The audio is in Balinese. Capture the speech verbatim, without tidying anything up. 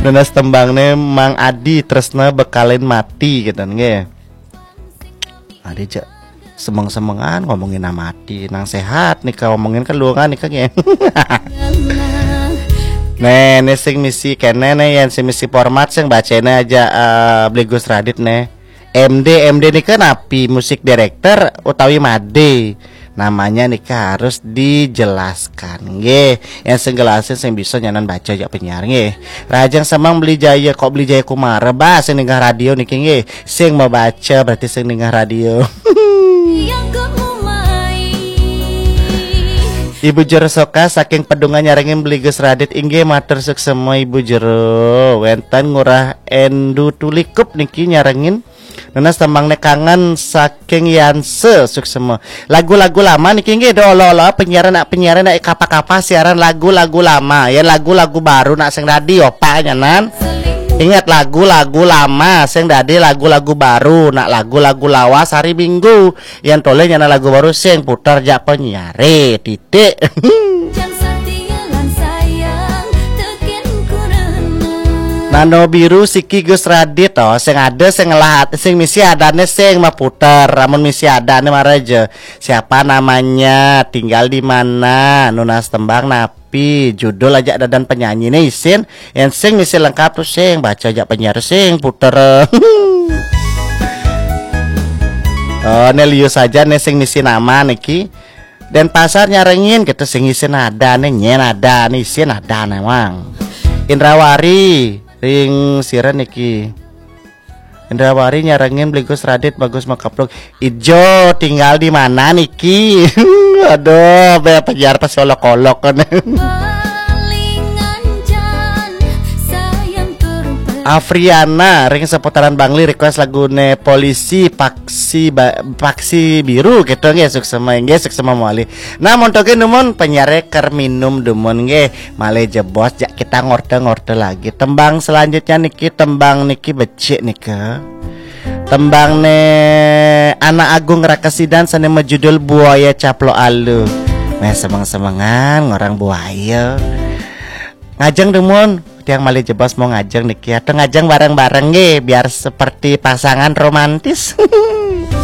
Nunas tembangné Mang Adi, Tresna Bekalin Mati gitu nggih. Adi cek semeng-semengan ngomongin mati, nang sehat nih ngomongin kelungan nih kan ya. Nih, nih sing misi kene nih, yang sing misi format sing bacanya aja eh, Beli Gus Radit nih. M D, M D nih kan api musik director utawi made. Namanya nih harus dijelaskan nggih. Yang sing jelasin sing bisa nyanan baca jak penyiar nggih. Rajang semang Beli Jaya, kok Beli Jaya Kumara bah sing ninggah radio niki nggih. Sing mau baca berarti sing ninggah radio. Ibu Jero Soka saking Pedungan nyarengin Beli Gus Radit, inggih matur suksema Ibu Jero. Wenten Ngurah Endu Tulikup niki nyarengin. Nunas tembang nek kangen saking Yanse suksema. Lagu-lagu lama niki nggih do olo-olo penyiaran nak penyiaran nak kapa-kapa siaran lagu-lagu lama ya, lagu-lagu baru nak sing dadi opak nyanan. Ingat, lagu-lagu lama sing dadi lagu-lagu baru, nak lagu-lagu lawas hari Minggu. Yang toleh nyana lagu baru sing putar jak penyiare titik. Nano biru siki Gus Radit to, sing ada sing ngelah sing misi adane sing maputer, amun misi adane mara aja. Siapa namanya, tinggal di mana, nunas tembang napi, judul aja dadan penyanyi nih isin. Yang sing misi lengkap tuh sing baca aja penyiar sing puter. Oh, ne lius aja nih sing misi nama niki. Denpasar nyarengin gitu sing isin ada nih, nyen ada nih, isin ada nih, Mang. Indrawari ring siren niki. Indrawari nyarengin Beli Gus Radit bagus makapluk. Ijo tinggal di mana niki? Aduh, be penyiar pas olok-olok kan. Afriana ring seputaran Bangli request lagune Polisi Paksi ba, Paksi Biru gitu nggih, suksema nggih, suksema mawali. Nah, montoke dumun penyiare ker minum dumun nggih. Malih jebos jak kita ngorte-ngorte lagi. Tembang selanjutnya niki, tembang niki becik nika. Tembang ne Anak Agung Rakesidan sane majudul Buaya Caplo Alu. Meh semeng-semengan ngorang buaya. Ngajeng dumun, tiang malih jebos mau ngajeng niki atau ngajeng bareng-bareng nggih biar seperti pasangan romantis.